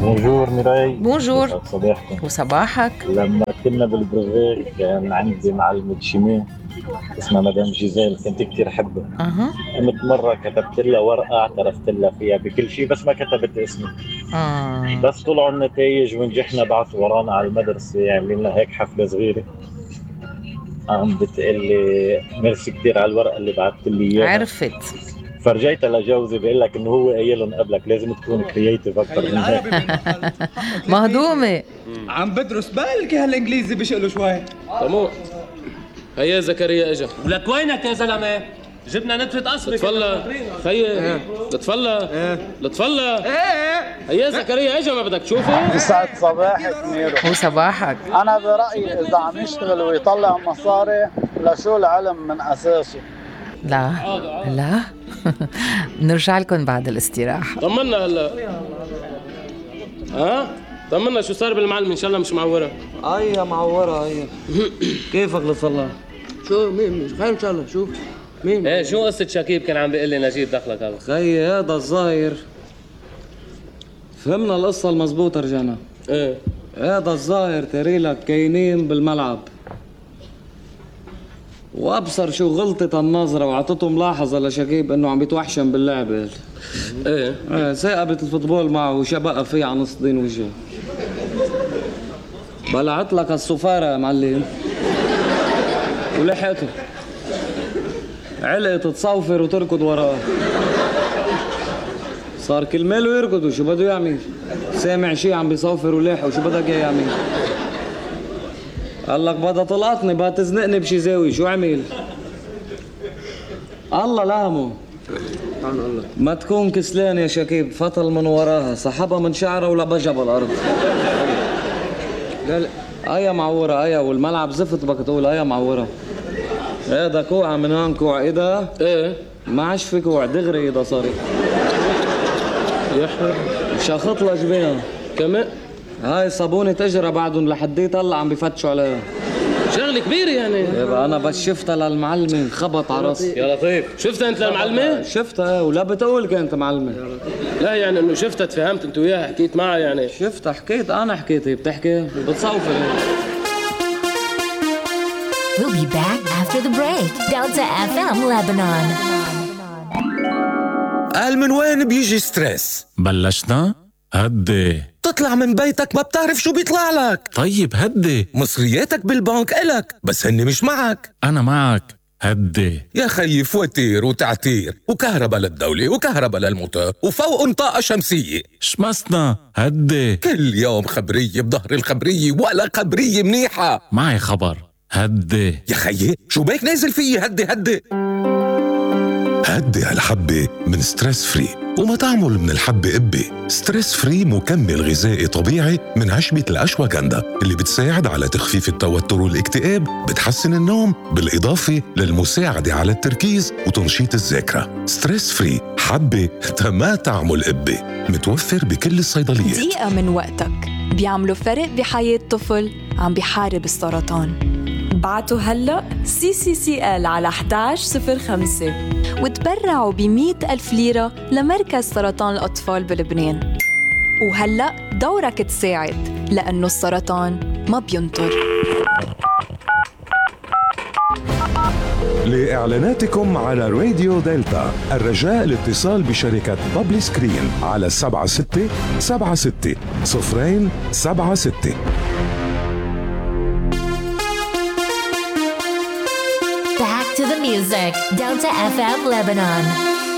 بونجور ميراي. بونجور. صباحكم. وصباحك. لما كنا بالبروفيك كان عندي معلمة شيمي اسمها مدام جيزيل، كنت كتير أحبها. قمت مرة كتبت لها ورقة اعترفت لها فيها بكل شيء بس ما كتبت اسمي. بس طلعوا النتائج ونجحنا، بعثوا ورانا على المدرسة عاملين لنا هيك حفلة صغيرة. عم بتقلي ميرسي كتير على الورقة اللي بعثت لي إياها. عرفت. فرجيتها لجوزي بقول لك انه هو قايلهم قبلك لازم تكون كرييتيف اكثر من هيك. مهضومه. عم بدرس بالك هالانجليزي بشقله شوي. تمام. هيا زكريا اجا. ولك وينك يا زلمه؟ جبنا نتفة قصبك. تفضل خيي. تفضل تفضل. هيا زكريا اجا، ما بدك تشوفه؟ يسعد صباحك ميرو. وصباحك. أنا برأيي إذا عم يشتغل ويطلع مصاري لشو العلم من أساسه؟ لا نرجع لكم بعد الاستراحة. طمنا هلا. طمنا شو صار بالمعلم؟ ان شاء الله مش معورة. يا معورة هي. كيفك لصلاح؟ شو مين خير ان شاء الله. شو مين؟ ايه شو قصة شكيب كان عم بيقول لي نجيب دخلك هذا؟ خيي هذا الظاهر فهمنا القصة المزبوطة، رجعنا. ايه هذا الظاهر تريلك كاينين بالملعب وابصر شو غلطة النظرة وعطته ملاحظة لشكيب انه عم بيتوحشم باللعبة. ايه ثاقبت الفوتبول معه وشبقى فيه على نص دين وجهه. بلعت لك الصفارة يا معلم ولحقته. علقت تصوفر وتركض وراه. صار كل ماله يركض وشو بده يعمل؟ سامع شي عم بيصوفر ولاحق وشو بدك اياه يعمل؟ قال لك بدها تلقطني، بدها تزنقني بشي زاوية، شو عمل؟ الله لامه. ما تكون كسلان يا شكيب، فطل من وراها سحبها من شعرها ولبجها بالارض. يا معورة يا والملعب زفت بدك تقول يا معورة. هذا كوع من هون كوع ايدها. ايه ما عادش في كوع دغري ايدها صارت. يحر شاخط لها جبينها كمان. هاي صابونة اجرة بعدهم لحديت هلا عم بفتشوا عليها. شغلة كبيرة يعني. يبقى انا بس شفتها للمعلمة خبط على راسي. يا لطيف. شفتها انت للمعلمة؟ شفتها ولا بتقول كانت معلمة. لا يعني انه شفتها تفهمت انت وياها حكيت معها يعني. شفتها حكيت انا حكيت، هي بتحكي بتصوفر. We'll be back after the break. Delta FM Lebanon. قال من وين بيجي ستريس؟ بلشنا؟ هدي. تطلع من بيتك ما بتعرف شو بيطلع لك. طيب هدي. مصرياتك بالبنك إلك بس هني مش معك. أنا معك. هدي. يا خيي فواتير وتعتير وكهرباء للدولة وكهرباء للموتور وفوق طاقة شمسية. شمسنا. هدي. كل يوم خبرية بظهر الخبرية ولا خبرية منيحة. معي خبر. هدي. يا خيي شو بيك نازل فيي؟ هدي هدي هالحبة من ستريس فري، وما تعمل من الحبة قبة. ستريس فري مكمل غذائي طبيعي من عشبة الأشواغندا اللي بتساعد على تخفيف التوتر والاكتئاب، بتحسن النوم بالإضافة للمساعدة على التركيز وتنشيط الذاكرة. ستريس فري حبة ما تعمل قبة، متوفر بكل الصيدليات. دقيقة من وقتك بيعملوا فرق بحياة طفل عم بيحارب السرطان. بعتوا هلأ CCCL على 1105 وتبرعوا ب100,000 ليرة لمركز سرطان الأطفال بلبنان. وهلأ دورك تساعد لأنه السرطان ما بينطر. لإعلاناتكم على راديو دلتا الرجاء الاتصال بشركة بابلي سكرين على 7676 Back to the music. Delta FM Lebanon.